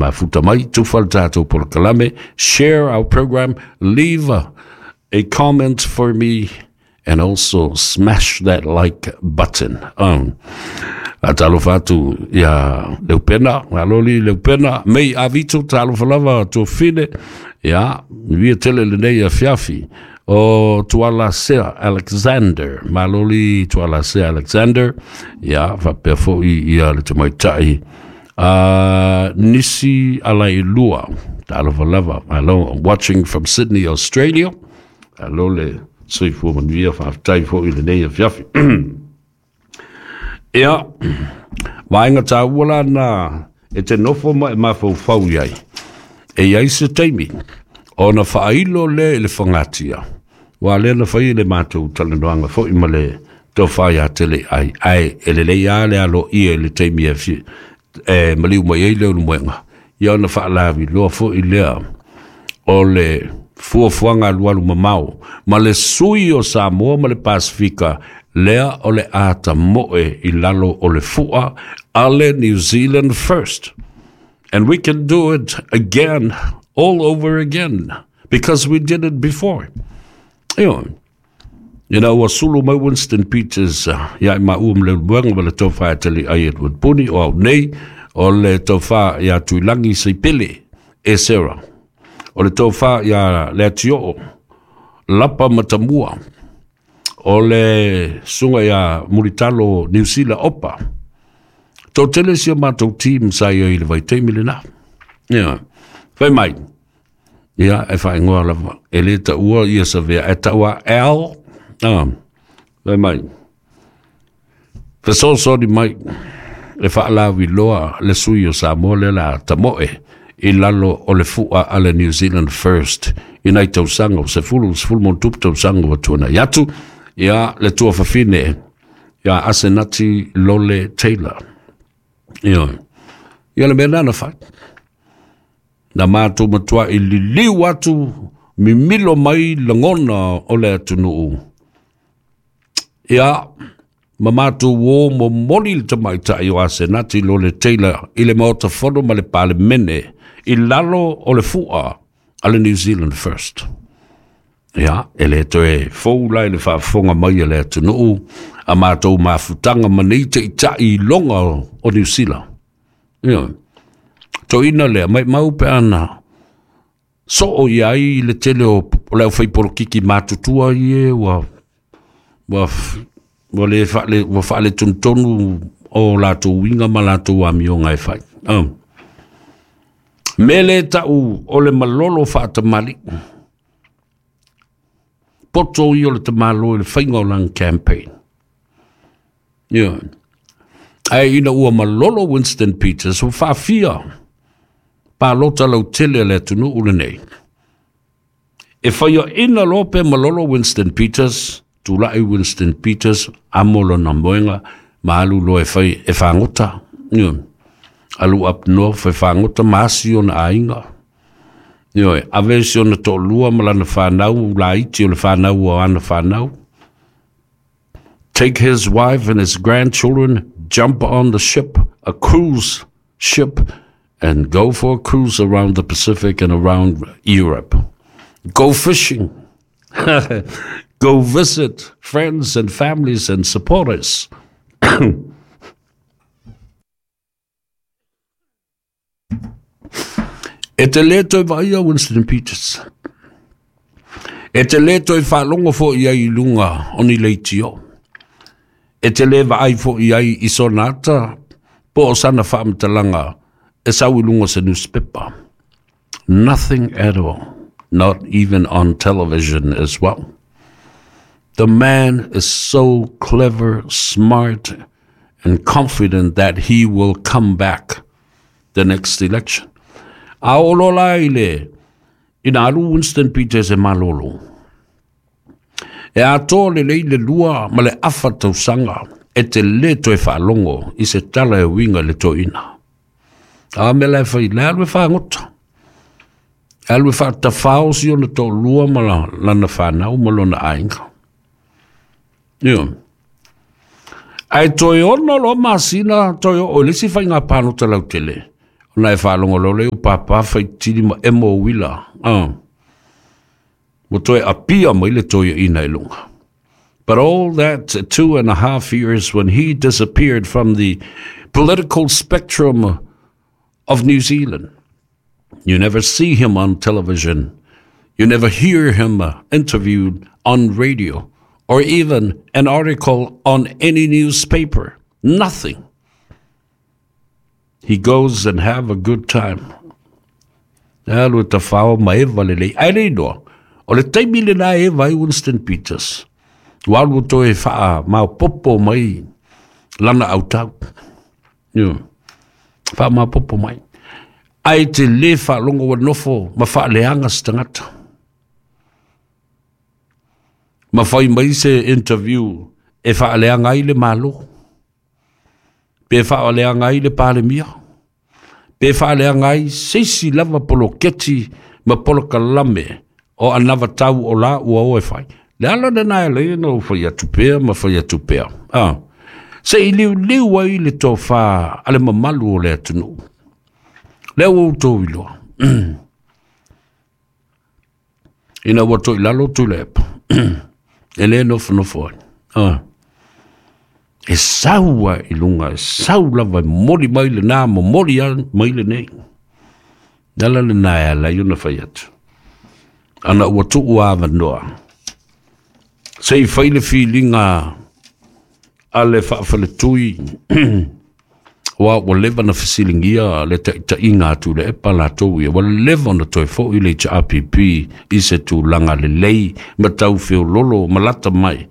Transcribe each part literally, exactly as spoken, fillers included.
mafuta mai, tufa le tātou polokalame, share our program, leave a, a comment for me, and also smash that like button. Um, talofa atu ia Leupena, aloli Leupena, mei avito talofa lava tuafine, ia, via tele lenei afiafi, o Tuala Sea Alexander, maloli Tuala Sea Alexander, ia, faapea foi ia le tamaitai, uh, Nisi Alailua, talofa lava, hello, watching from Sydney, Australia, alo le soifua manuia, faafetai foi lenei afiafi. Ia, vaega tāua la na e te nofo ma e mafaufau i ai. E iai se taimi, ona faailo le i le fagatia. Ua lea na fai le matou talanoaga foi ma le tofa ia tele ai. Ai, e lelei lava le aloaia i le taimi e, fi, e maliu mai ai le ulumoega. Ia ona faalaviloa foi lea o le fuafuaga alualu mamao ma le sui o Samoa ma le Pasifika lea o le ata moe i lalo o le fua ale New Zealand first. And we can do it again, all over again, because we did it before. Io, ina ua sulu mai Winston Peters ia i maua ma le ulumoega ma le tofa e tele ai Edward Puni o au nei o le tofa ia Tuilangi Seipele e Sarah. O le tofa ia le Atio'o Lapa Matamua o le suga ia Mulitalo Niu Sila Opa. Toatele si o matou team sa ia i le vaitaimi lenā. Ia, fai mai. Ia, e faaigoa lava. E le taua ia Savea, e taua Al. Ah, fai mai. Fesoasoani mai e faalaviloa le sui o Samoa lea la tamoe i lalo o le fua a le New Zealand First i nai tausaga o sefulu, sefulu ma tupu tausaga ua tuanai atu. Ia, le tuafafine ia Asenati Lole Taylor. Ia, ia le mea lena na fai. Na matou matua i liliu atu mimilo mai lagona o le atunuu. Ia, ma matou o momoli le tamaitai o Asenati Lole Taylor i le Maota Fono ma le Palemene i lalo o le fua a le New Zealand First. Ia, e le toe fou la i le faafofoga mai a le atunuu a matou mafutaga ma nei taitai iloga o Niu Sila. Ia, toina lea, maumau pe ana soo i ai le tele o le aufai polokiki matutua ie ua, ua, ua le faale, ua faaletonutonu o latou uiga ma latou amioga e fai. Um. Me le tau o le malolo faatamali. Poto i o le tamalo i le faiga o lana campaign. Ia. Ae ina ua malolo Winston Peters, ua faafia palota lautele a le atunuu lenei. E faiaina loa pe malolo Winston Peters, tulai Winston Peters, amo lona moega, ma alu loa e fai e fagota. Ia. Alu up north e fagota ma asi ona aiga. Ioe, ave si ona toalua ma lana whanau, laiti o le whanau o ana whanau. Take his wife and his grandchildren, jump on the ship, a cruise ship, and go for a cruise around the Pacific and around Europe. Go fishing. Go visit friends and families and supporters. E te le toe vaaia Winston Peters. E te le toe faalogo foi ai i luga o ni leitio. E te le vaai foi ai i sona ata po o sana faamatalaga e sau i luga o se newspaper. Nothing at all. Not even on television as well. The man is so clever, smart, and confident that he will come back the next election. A oo loa la i le ina alu Winston Peters e malolo. E atoa lelei le lua ma le afa tausaga e te lē toe faalogo i se tala e uiga i le toeaina. A mea la e fai, le alu e fagota. E alu e faatafao si ona toalua ma lana fanau ma lona aiga. Ioe. Ae toe ono loa masina toe oo i le isi faiga palota lautele, Ona e whaalongo leo papa whaitiri ma emo wila. Ah. Mo toe apia mai le toia ina e lunga. But all that two and a half years when he disappeared from the political spectrum of New Zealand, you never see him on television. You never hear him interviewed on radio or even an article on any newspaper. Nothing. He goes and have a good time. Alu te whao ma ewa le lei. Ai lei noa. O le taimi le na ewa ai Winston Peters. Walu toe whaa mau popo mai lana au tau. Yo. Whaa mau popo mai. Ai te le wha longo wa nofo ma wha leanga stangata. Ma whai mai se interview e wha leanga ai le malo. Pe wha leanga ai le palemia. Pe wha leanga ai seisi lava poloketi ma polokalame o anava tau o la ua o e whai. Le ala nena e le no whai atupea ma whai atupea. Ah. Se i liu liu ai le tō wha ale mamalu o le atunu. Lea ua tō iloa. Ina ua tō ilalo tū lepa. E le nofo nofo ai. Ah. E saua i lunga, e sau lava e mori mai le nā, mo mori a mai le nei. Nala le nā e ala i ona whai atu. Ana ua tuu awa noa. Se i whai le whilinga a le whaafale tui, wa ua leva na fasilingia le taitainga atu le epa latou ia, ua leva na toe fo'i le H R P P i se tulaga lelei ma taufeololo ma lata mai.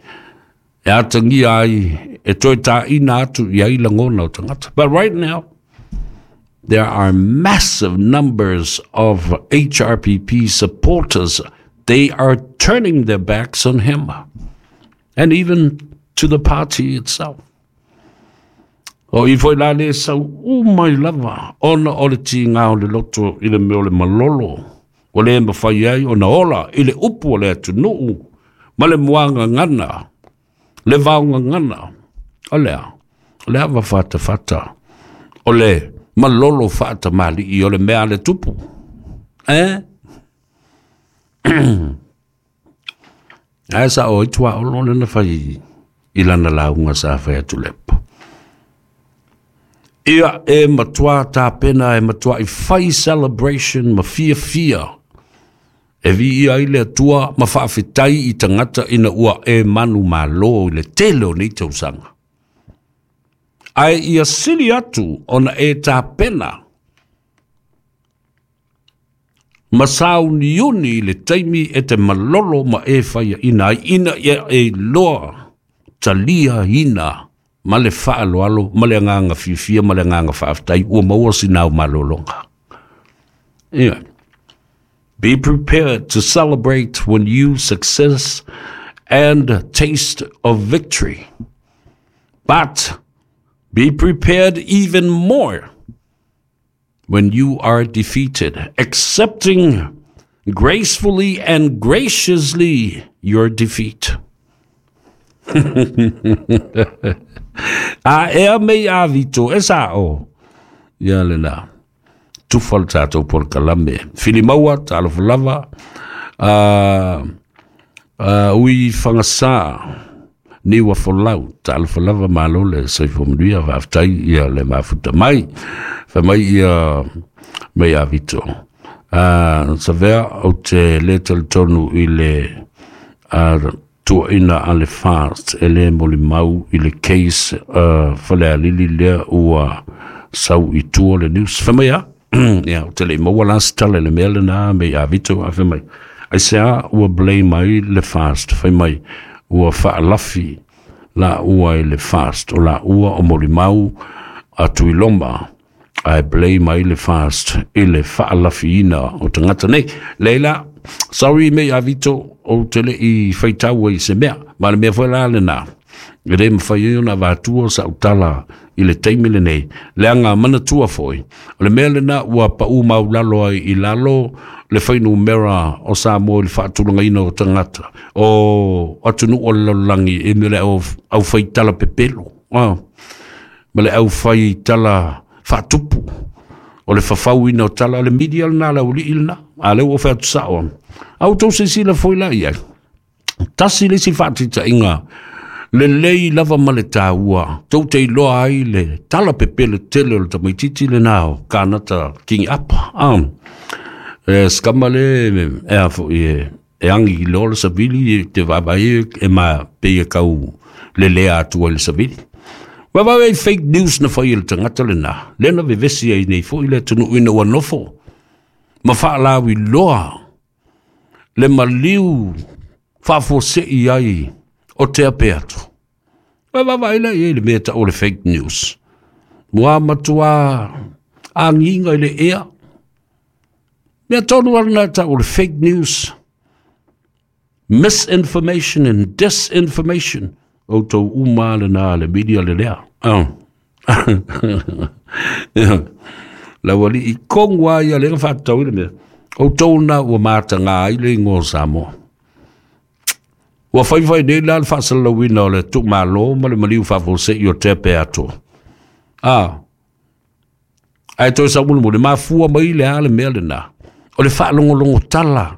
E atangia ai, e toe tāina atu i ai lagona o tagata. But right now, there are massive numbers of H R P P supporters. They are turning their backs on him and even to the party itself. O i foi la le sau umai lava, ona o le tīngā o le loto i le meo le malolo, o le mawhai ai ona ola i le upu o le atunuu, ma le muanga ngana, le vaunga ngana, o lea, o le awa whata whata, o le malolo whata mali i o le mea le tupu. Eh? Ai sa o itua olo le na whai i lana launga sa whai atu lepo. Ia e matua tāpena e matua i whai celebration ma fia fia. E vi ia i le atua ma whaafetai i tangata ina ua e manu malo i le tele o nei tausanga. Ai ia sili atu ona e tāpena ma sauniuni i le taimi e te malolo ma e whaia ina ai ina ia e loa talia ina ma le whaaloalo, ma le nganga fiafia, ma le nganga whaaftai, ua maua sinau malolonga. Anyway, be prepared to celebrate when you success and taste of victory. But be prepared even more when you are defeated, accepting gracefully and graciously your defeat. A ea mei a vito, e sa o. Ia le la. Tufa le tātou por kalame. Filimaua, tālofa lava. Uh, uh, ui whangasā. Niwa folau, tālofa lava malo le saifo manuia, whaaftai ia le mafuta mai. Wha mai ia mei a vito. Uh, sa vea o te le talitonu i le uh, tua ina a le fast e le moli mau i le case uh, whale a lili lea ua sau i tua le news. Wha mai a? Ia, o te le maua la tale le mea le nā mei a vito a wha mai. Ai se a ua blame ai le fast. Wha mai ua whaalafi la ua i le fast. O la ua o moli mau a tuiloma ai blame ai le fast i le whaalafi ina o tangata nei. Leila, sorry mei a vito o te le i whaitaua i se mea. Ma le mea foi la le nā. E re mwhai o na vātua sa utala i le teimi le nei. Leanga manatua foi. O le mea le nā ua pa u mau lalo ai i lalo le whainu mera o sa mo i le whaatulanga ina o tangata. O atunu o le langi e me le au, au whaitala pepelo. Ah. Ma le au whaitala whaatupu. O O le fafauina o tala o le media lena le aualii lena. A lea ua fai atu sao. A outou silasila foi la i ai. Tasi le isi faataitaiga lelei lava ma le taua tou te iloa ai le tala pepelo tele o le tamaitiiti lena o Kanata King Apa. Ah, e skama le e a foi e e agi i loa le savili e te vaavaai e ma pei e kau lelea atu ai le savili. Vaavaai ai fake news na fai e le tagata lena, lea na vevesi ai nei foi le atunuu ina ua nofo ma faalauiloa le maliu faafuasei ai o te ape atu. Vaavaai la i ai le mea tau o le fake news. Ua matua agiga i le ea. Mea tonu lava lena tau o le fake news. Misinformation and disinformation. Outou uma lena le media le lea. Oh. Lau alii kongu a ia lea na faatatau i le mea. Outou na ua mataga ai le igoa o Samoa. Ua faifai nei la le faasalalauina o le tuumalo ma le maliu faafuasei o tea pe atoa. Ah. Ae toe saumulimuli, mafua mai le a le mea lena. O le faalogologo tala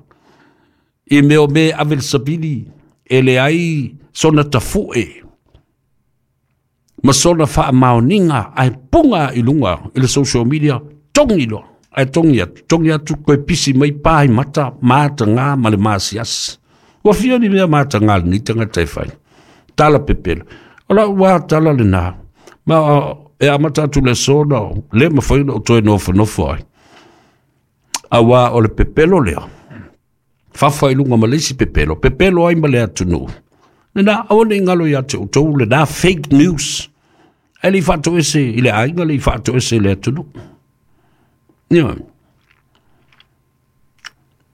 i mea o mea e ave le savili e leai sona tafue ma sona faamaoniga ae puga i luga i le social media, togi loa. Ae togi atu, togi atu koe pisi mai pa i mata, mataga ma le masiasi. Ua fia ni mea mataga lenei tagata e fai. Tala pepelo. O lau ua tala lena. Ma e amata atu le aso na le mafai ona ou toe nofonofo ai. Auā o le pepelo lea, fafa i luga ma le isi pepelo, pepelo ai ma le atunuu. Lena, aua ne i galo ia te outou lena fake news. Ae le i faatoese i le aiga, le i faatoese i le atunuu. Ioe.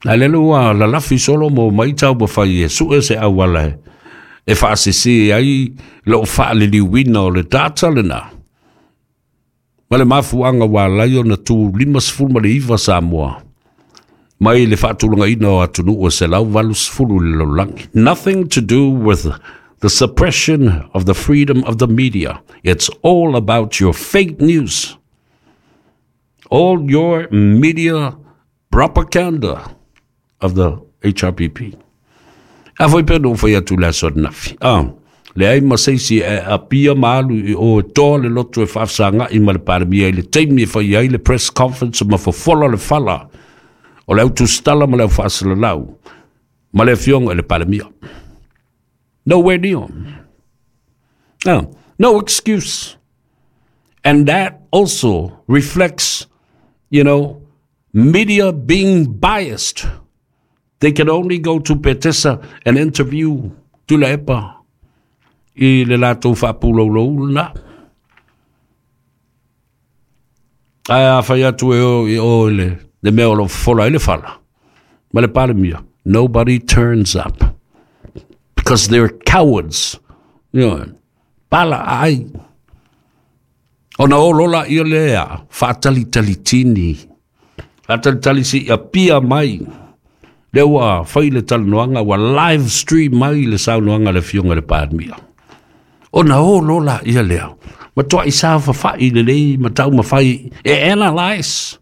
Ae lele ua lalafi solo ma omai taumafai e sue se auala e, e faasese ai lou faaliliuina o le data lena. Ma le mafuaaga ua ala ai ona tu limasefulu ma le iva Samoa mai le faatulagaina o atunuu e selau valusefulu i le lalolagi. Nothing to do with the suppression of the freedom of the media. It's all about your fake news. All your media propaganda of the H R P P. A foi pea na ou fai atu i le aso ananafi. Ah, leai ma se isi e apia ma alu i o e toa le loto e faafesagai ma le Palemia i le taimi e fai ai le press conference ma fofola le fala o le au tusitala ma le au faasalalau ma le afioga i le Palemia. Nowhere near. Ah, no excuse. And that also reflects, you know, media being biased. They can only go to Petesa and interview Tuilaepa i le latou faapulou lena. Ae a fai atu e o i o i le, le mea o lo o fofola ai le fala ma le Palemia, nobody turns up because they're cowards. You know, pala ai. Ona olo laia lea faatalitalitini, faatalitali se i apia mai. Lea ua fai le talanoaga, ua live stream mai le saunoaga a le Afioga i le Palemia. Ona olo laia lea, matuai saofafai lelei ma taumafai e analyse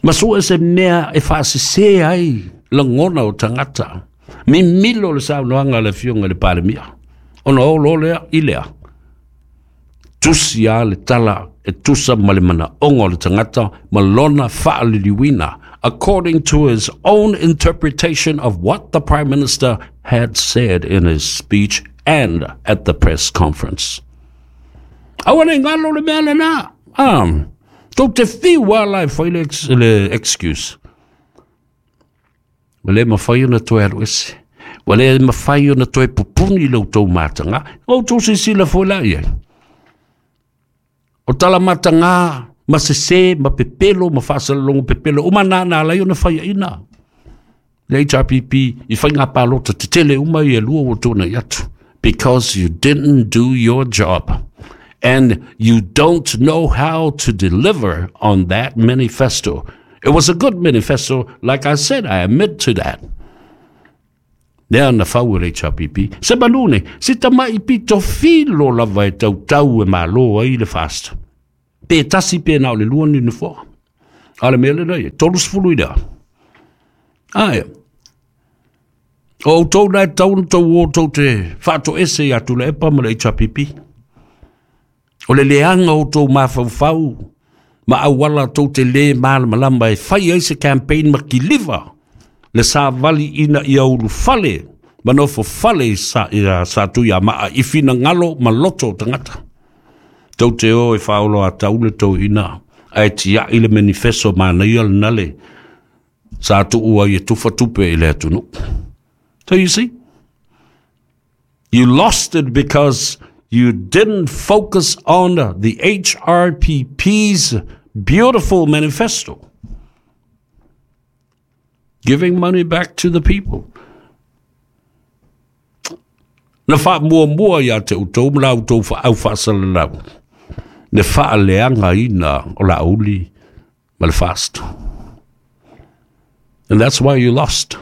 ma sue se mea e faasese ai lagona o tagata. Mimilo le saunoaga a le Afioga i le Palemia. Ona olo lea i lea. Tusi a le tala e tusa ma le manaoga o le tagata ma lona faaliliuina, according to his own interpretation of what the Prime Minister had said in his speech and at the press conference. Aua ne i galo le mea lena. Ah, tou te fiu lava la e fai le, le excuse. Ua le mafai ona toe alu ese. Ua le mafai ona toe pupuni lo outou mataga. O outou silasila foi la i ai. O tala mataga ma sese ma pepelo ma faasalalogo pepelo uma na na ala ai ona faiaina le H R P P i faiga palota tetele uma ia e lua ua tuanai atu. Because you didn't do your job and you don't know how to deliver on that manifesto. It was a good manifesto, like I said, I admit to that. Lea na fau e le H R P P. Se manu nei, se tamai pito filo lava e tautau e malo ai le FAST. Pe tasi pe na o le lua ni nofoa. A le mea lena ia, tolu sefulu i lea. Ae, o outou na e tau na tou o tou te faatoese ia Tuilaepa ma le H R P P. O le leaga o outou mafaufau ma auala tou te lē malamalama e fai ai se campaign ma kiliva le savali ina ia ulufale ma nofo fale i sa, ia Satuiamaa i finagalo ma loto o tagata. Tou te o e faaolo atau le toeaina ae tiai le manifesto manaia lena le sa tuu ai e tufa tupe i le atunuu. So you see, you lost it because you didn't focus on the H R P P's beautiful manifesto, giving money back to the people. Na faamuamua ia te outou ma la outou au faasalalau, le faaleagaina o Laauli ma le fast. And that's why you lost.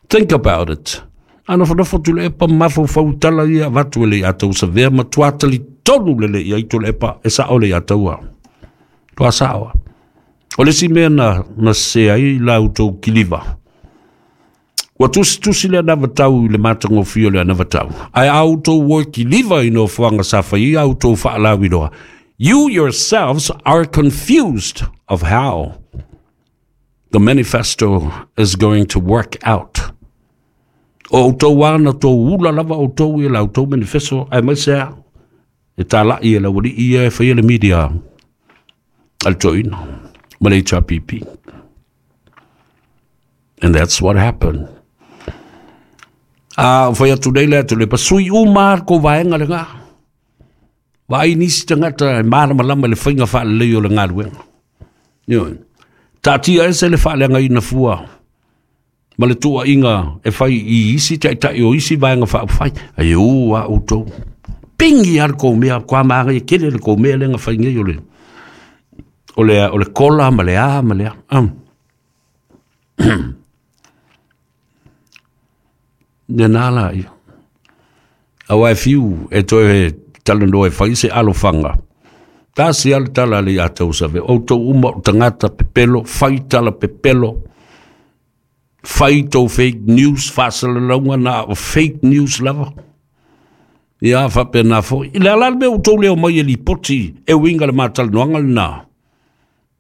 Think about it. Ana whanafo Tuilaepa mafaufau tala ia avatu e le ia tau savea ma tuatali tonu le le ia i Tuilaepa e sao le ia taua. Tua saoa. O le si mea na, na se ai la outou kiliva. Ua tusi tusi le anavatau i le matagofie o le anavatau. Ae a outou o e kiliva i nofoaga sa fai ia outou faalauiloa. You yourselves are confused of how the manifesto is going to work out. O outou ana tou ula lava outou i la outou manifesto ae mai sea e tālai e laualii ia e faia le media a le toeaina ma le H R P P. And that's what happened. A o fai atu nei le atu le pasui uma ko vaenga le ngā. Vaai nisi tagata e malamalama le faiga faalelei o le galuega. Ioe. Taatia ese le faaleagaina fua ma le tuuaiga e fai i isi taitai o isi vaega faaupufai. Ai ū a outou. Pingi a le kou mea, kua magai e kele le kou mea lenga fai nei o le o le o le kola ma le a ma le a. Um. Ne nā la ia. Aua e fiu e toe talanoa e fai se alofanga. Tasi ale tala le ia tau save. O tau uma o tangata pepelo, fai tala pepelo, fai tau fake news, faasalalauga na o fake news lava. Ia faapena foi. I le ala le mea outou leo mai e lipoti e uiga le matalanoaga lena.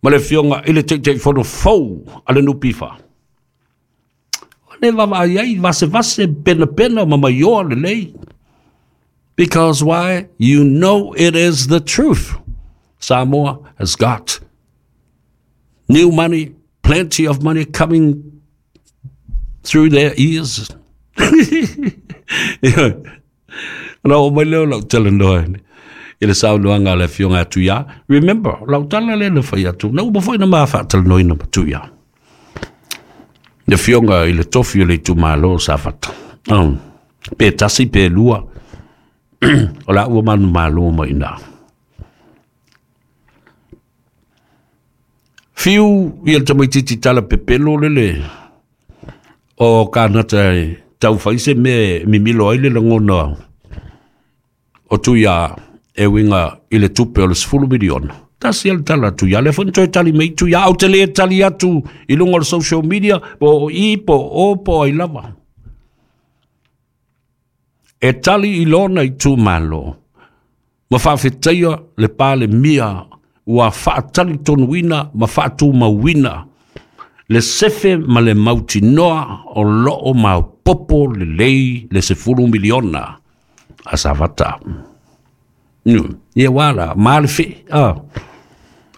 Ma le afioga i le Taitaifono fou a le N P F. O le vavaai ai, vasevase, penapena ma maioa lelei. Because why? You know it is the truth. Samoa has got new money, plenty of money coming through their ears. Na o mai leo lau talanoa i le saunoaga a le afioga atu ia. Remember, lau tala le na fai atu. Na uma foi na ma faatalanoaina ma Tuia. Le afioga i le tofi o le itumalo o Safata. Um, pe tasi, pe lua. O la ua manu malo mai ina. Fiu i le tamaititi tala pepelo lele o kānata e tau fai se mea mimilo ai le lagona o Tuia e uiga i le tupe o le sefulu miliona. Tasi ale tala Tuia, le foi na toe tali mai Tuia, au te le tali atu i luga o le social media, po o i, po o, po ai lava. E tali i lona i tūmalo, ma faafetaia le palemia ua faatali tonuina ma faatumauina le sefe ma le mautinoa o loo maopopo lelei le sefulu miliona a Safata. Ia wala, ma le fe. Ah.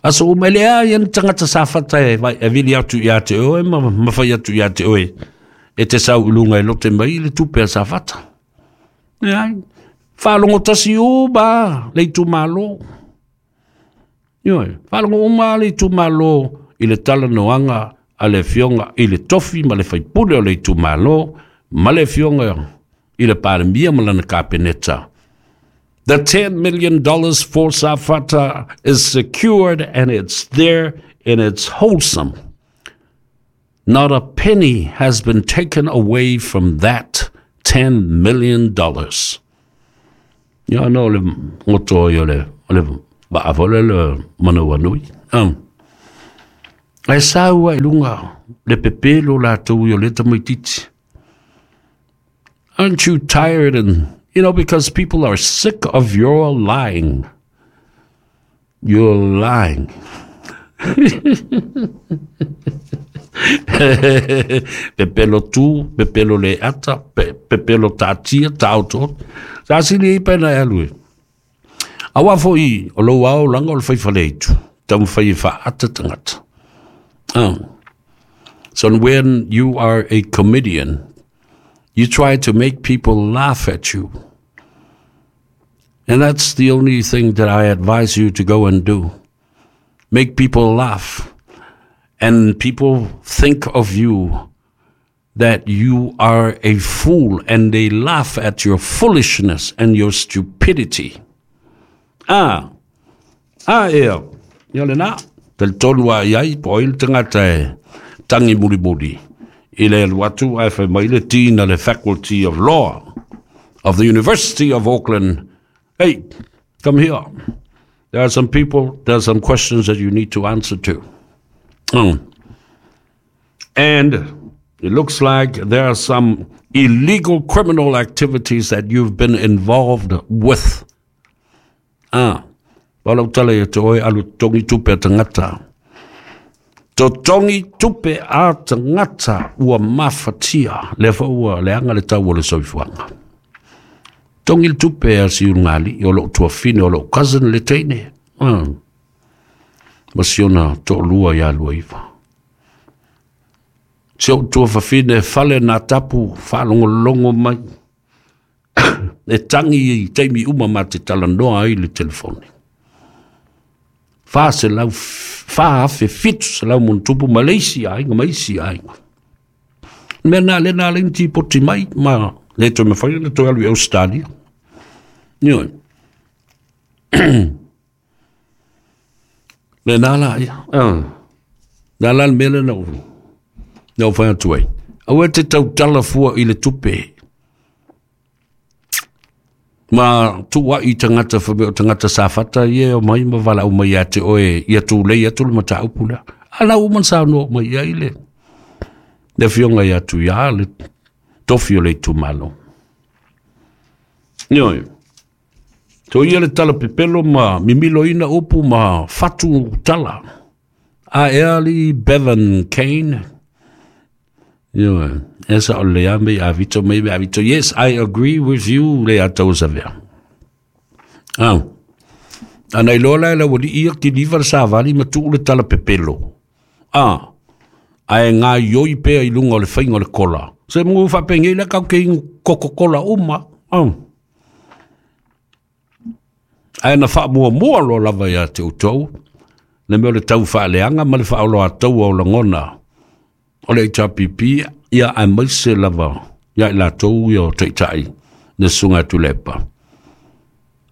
Aso uma le a ia ni tagata Safata e vai e vili atu ia te oe ma ma fai atu ia te oe. E te sau i luga e lote mai le tupe a Safata. Ia, faalogo tasi uma le itumalo. Ioe, faalogo uma le itumalo i le talanoaga a le afioga i le tofi ma le faipule o le itumalo ma le afioga i le palemia ma lana kapeneta. The ten million dollars for Safata is secured and it's there and it's wholesome. Not a penny has been taken away from that ten million dollars. Ia no le ngoto i o le o le vaafole le manawanui. Um. Ae sau ai luga le pepelo latou i o lea tamaititi. Aren't you tired? And, you know, because people are sick of your lying. You're lying. Pepelo tu, pepelo le ata, pe, pepelo tatia, tauto. Sa sili i pena e alue. Awa fo i, o lau ao langa o le whaiwhaleitu. Tamu whai e whaata tangata. Oh. So when you are a comedian, you try to make people laugh at you. And that's the only thing that I advise you to go and do. Make people laugh. And people think of you that you are a fool, and they laugh at your foolishness and your stupidity. Ah, ah, ea, ia le na, tel tonu a iai, po il tangata e tangi muri muri. I le alu atu ae fai mai le tina le Faculty of Law of the University of Auckland. Hey, come here. There are some people, there are some questions that you need to answer to. Mm. And it looks like there are some illegal criminal activities that you've been involved with. Ah, wala utala ia te oe alu tongi tupe a tangata. To tongi tupe a tangata ua mafatia. Le fa ua leanga le tau o le soifuanga. Tongi le tupe a si ungali, o loo tuafine, o loo cousin le teine. Ah. Masiona to'olua ia lua iva. Si ou tuafafine fale nā tapu whaalongolongo mai. E tangi i teimi uma ma te talanoa ai le telefone. Wha se lau, wha afe fitu se lau montupu Malaysia aiga, maisi aiga. Mea nā le nā le nti poti mai, ma le toe mawhai le toe alu i Australia. Nioi. Le nā la ia. Nā la le mele na uru. Nā o whai atu ai. Aue te tautala fua i le tupe. Ma tua i tangata whameo tangata sāwhata ie o mai ma wala o mai ate oe ia tūlei atu le mata upula. Ala uman sā no mai ia ile. Le fionga ia tu ia le tofi o le tumalo. Nioi. To ia le tala pepelo ma mimilo ina upu ma fatu tala. A eali Bevan Kane. Nioi. Esa o le ame a vito me a vito. Yes, I agree with you le atau savea. Ah. Ana ilola la wali ia ki liva sa vali ma tu le tala pepelo. Ah. Ae ngā ioi pea i lunga o le whainga o le kola. Se mungu whapenge la kau ke ingu Coca-Cola uma. Ah. Ae na wha mua mua lo lava ia te utou. Le mea o le tau whaaleanga ma le whaolo a tau o langona. O le H R P P ia a maise lava ia i latou ia o taitai le sunga tulepa.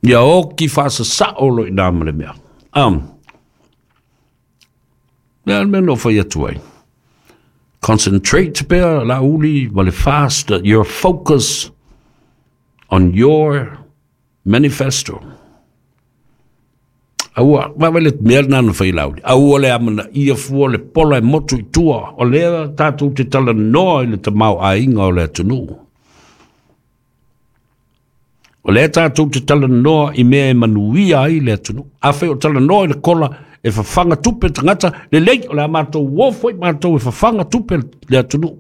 Ia o ki whaasa sao lo i nā ma le mea. Um, mea mea no whai atu ai. Concentrate pea la uli ma le fast your focus on your manifesto. Aua, wawe le mea nana whai lauli. Aua le amana ia fua le pola e motu i tua. O lea tātou te tala noa i le tamau ainga o le atunu. O lea tātou te tala noa i mea e manuia ai le atunu. A whai o tala noa i le kola e whawhanga tupe tangata. Le lei o le a mātou wofo i mātou e whawhanga tupe le atunu.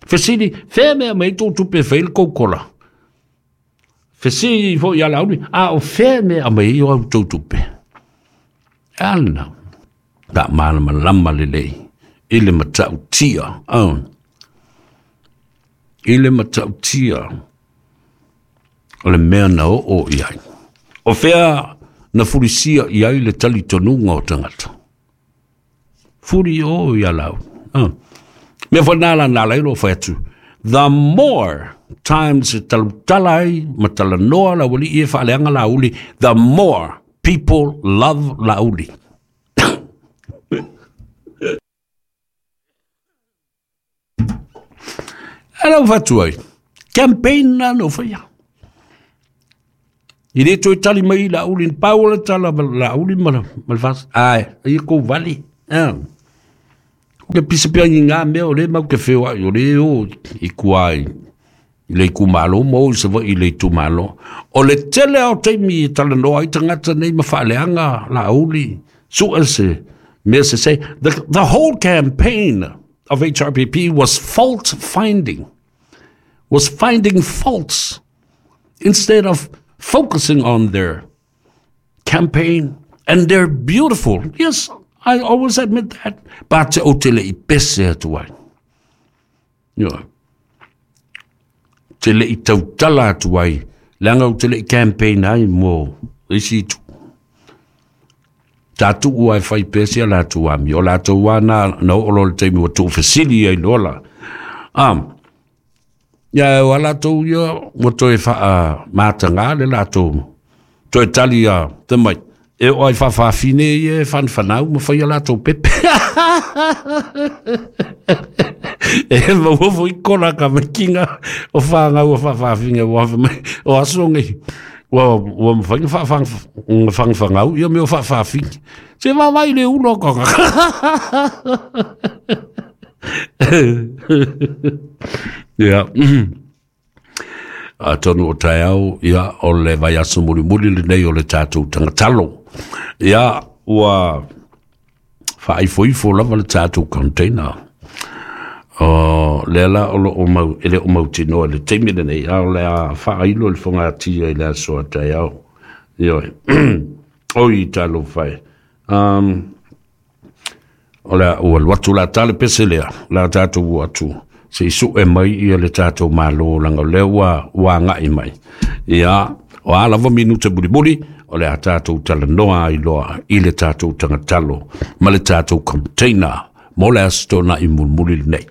Fesili, whea mea mei tō tupe whai le koukola. Fesili fo ia lauli, a o whea mea mei o au tō tupe. Ana, ta malama lama le lei, i le matau tia, oh. I le matau tia, o le mea na o o iai. O whea na furisia iai le tali tonunga o tangata. Furi o ia lau. Oh. Mea whanala nā leilo whai atu. The more times e talutala ai, ma talanoa la wali i e whaaleanga la uli, the more people love la uli. Ala whatu ai, campaign na no whaia. I le toi tali mai la uli, pau le tala la uli ma la whas, ai, ai ko vali. Ah. Ke pisa pia ni ngā mea o le mau ke whio ai o le o i kuai i le itumalo mo i sa i le itumalo. O le tele o taimi i talanoa ai tagata nei ma faaleaga Laauli sue se mea se se. The, the whole campaign of H R P P was fault finding, was finding faults instead of focusing on their campaign and their beautiful. Yes, I always admit that. But o te le i pese atu ai. Yeah. Te le i tautala atu ai. Leanga o te le i campaign ai mo isi tu. Tatu ua e whai pese a lātou ami. O lātou wana na o lo le taimi wa tuu fesili ai lola. Um, ia o lātou ia mo toe wha mātanga le lātou. Toe tali a te mai. E o ai whawhawhine i e whanwhanau ma whai a lātou pepe. E maua i kona ka makinga o whangau o whawhawhine o asongi. Ua ua mwhainga whawhangau ia me o whawhawhine. Se wawai le ulo konga. Ia. Atonu o taeau, ia, o le vai aso mulimuli le nei o le tātou tangatalo. Ia, ua whaaifoifo lava le tātou container. O le ala o lo o mau, ele o mau tinoa le teimi le nei, a o le a whaailo le whangatia i le aso a taeau. Ioi, oi talo whai. Um, o le ua luatu la tale pese lea, la tātou ua atu. Se isu e mai ia le tātou malo langa lea ua, ua ngai mai. Ia, o a lava minuta mulimuli, o le a tātou talanoa ai loa i le tātou tangatalo, ma le tātou container, mo le aso tona i mulimuli nei.